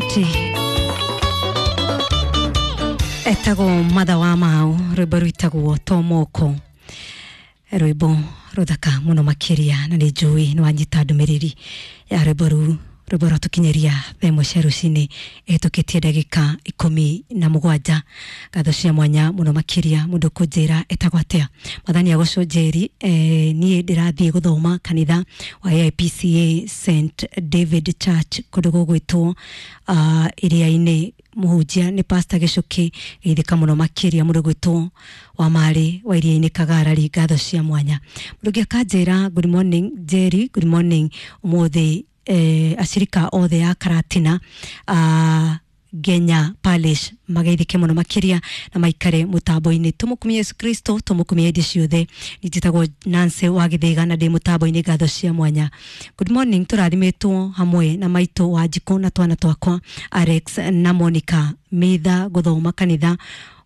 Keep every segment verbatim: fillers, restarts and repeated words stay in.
Asanti. Etagwo Matha wa Mau, rwimbo rwitagwo Tomoko, rwimbo ruthaka muno makiria, na nĩ njũĩ nĩ wanyita ndũmĩrĩri ya rwimbo rũu. Rwimbo rwatũkinyĩria thaa ĩmwe cia rũcinĩ ĩhĩtũkĩtie ndagĩka ikũmi na mũgwanja. Ngatho cia mwanya mũno makĩria mũndũ kũnjĩra etagwo atĩa. Mwathani agocwo. Njeri, eh, niĩ ndĩrathiĩ gũthoma kanitha wa A I P C A Saint David Church kũndũ gũgwĩtwo uh, Iria-inĩ, mũhunjia nĩ Pastor Gĩcũkĩ. Geithĩka mũno makĩria mũndũ gwĩtwo wa marĩ wa Iria-inĩ Kagarari, ngatho cia mwanya. Mũndũ ũngĩ akanjĩra, "Good morning Jerry." Good morning. Ũmũthĩ eh, acirika othe a Karatina uh, Ngenya Parish mageithĩke mũno makĩria na maikare mũtambo-inĩ. Tũmũkumie Yesu Kristo, tũmũkumie hĩndĩ ciothe. Njĩtagwo Nancy wa Gĩthĩga na ndĩ mũtambo-inĩ, ngatho cia mwanya. Good morning, tũrathimĩtwo hamwe na maitũ wa Njikũ na twana twakwa Alex na Monica Mitha, gũthoma kanitha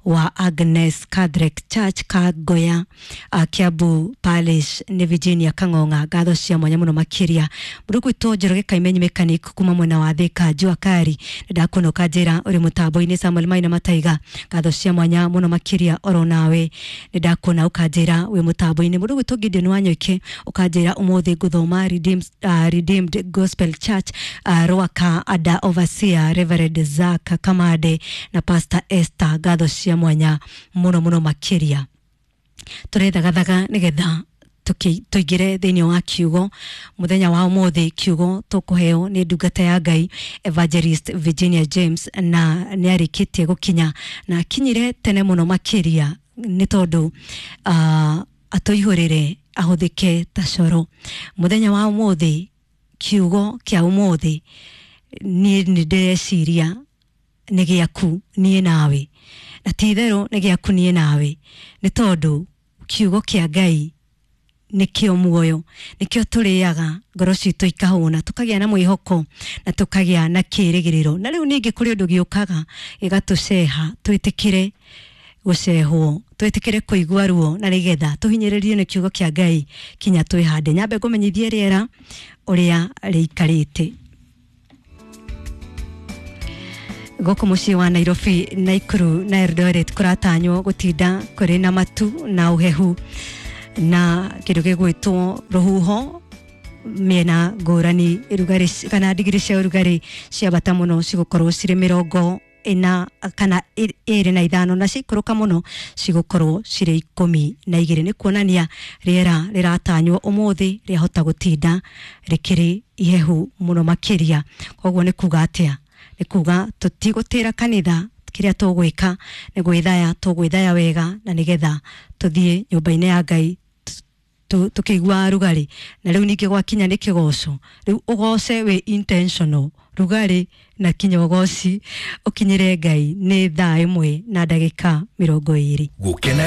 wa Agnes Catholic Church Kagoya, uh, Kiambu Parish, nĩ Virginia Kang'ong'a, ngatho cia mwanya mũno makĩria. Mũndũ gwĩtwo Njoroge Kaimenyi mechanic kuma mwena wa Thika Jua Kari, nĩndakũona ũkanjĩra ũrĩ mũtambo-inĩ. Samuel Maina Mataiga, ngatho cia mwanya mũno makĩria oro nawe, nĩndakũona ũkanjĩra wĩ mũtambo-inĩ. Mũndũ gwĩtwo Gideon Wanyoike ũkanjĩra ũmũthĩ ngũthoma Redeemed, uh, Redeemed Gospel Church, uh, Rwaka, ada overseer Reverend Zak Kamade na Pastor Esther, ngatho cia mwanya mũno mũno makĩria. Tũrethagathaga nĩgetha tũingĩre thĩinĩ wa kiugo mũthenya wa ũmũthĩ. Kiugo tũkũheo nĩ ndungata ya Ngai Evangelist Virginia James, na nĩ arĩkĩtie gũkinya na akinyire tene mũno makĩria nĩ tondũ uh, atũihũrĩre ahũthĩke ta coro mũthenya wa ũmũthĩ. Kiugo kĩa ũmũthĩ niĩ nĩ ndĩreciria nĩ gĩaku niĩ nawe, na ti itherũ nĩ gĩaku niĩ nawe, nĩ tondũ kiugo kĩa Ngai nĩkĩo muoyo, nĩkĩo tũrĩaga ngoro citũ ikahũna, tũkagĩa na mwĩhoko na tũkagĩa na kĩĩrĩgĩrĩro. Na rĩu ningĩ kũrĩ ũndũ gĩũkaga gĩgatũceha, twĩtĩkĩre gũcehwo, twĩtĩkĩre kũigua ruo na nĩgetha tũhinyĩrĩrio nĩ kiugo kĩa Ngai kinya twĩhande. Nyambe ngũmenyithie rĩera ũrĩa rĩikarĩte gũkũ mũciĩ wa Nairobi, Naikuru na Eldoret. Kũratanywo gũtinda kũrĩ na matu na ũhehu na kĩndũ gĩgwĩtwo rũhuho mĩena ngũrani. Rugarĩ kana ndigiri cia ũrugarĩ ciambata mũno cigũkorwo cirĩ mĩrongo ĩna kana ĩrĩ na ithano, na ciikũrũka mũno cigũkorwo cirĩ ikũmi na igĩrĩ. Nĩ kuonania rĩera rĩratanywo ũmũthĩ rĩahota gũtinda rĩkĩrĩ ihehu mũno makĩria. Koguo nĩ kuga atĩa? Nĩ kuga tũtigũtĩra kanitha. Kĩrĩa tũgwĩka nĩ gwĩthaya, tũgwĩthaya wega na nĩgetha tũthiĩ nyũmba-inĩ ya Ngai tũkĩigua rugarĩ. Na rĩu ningĩ gwakinya nĩ kĩgoco, rĩu ũgoce wĩ intentional, rugarĩ na kinya ũgoci ũkinyĩre Ngai. Nĩ thaa ĩmwe na ndagĩka mĩrongo ĩrĩ. Gũkena.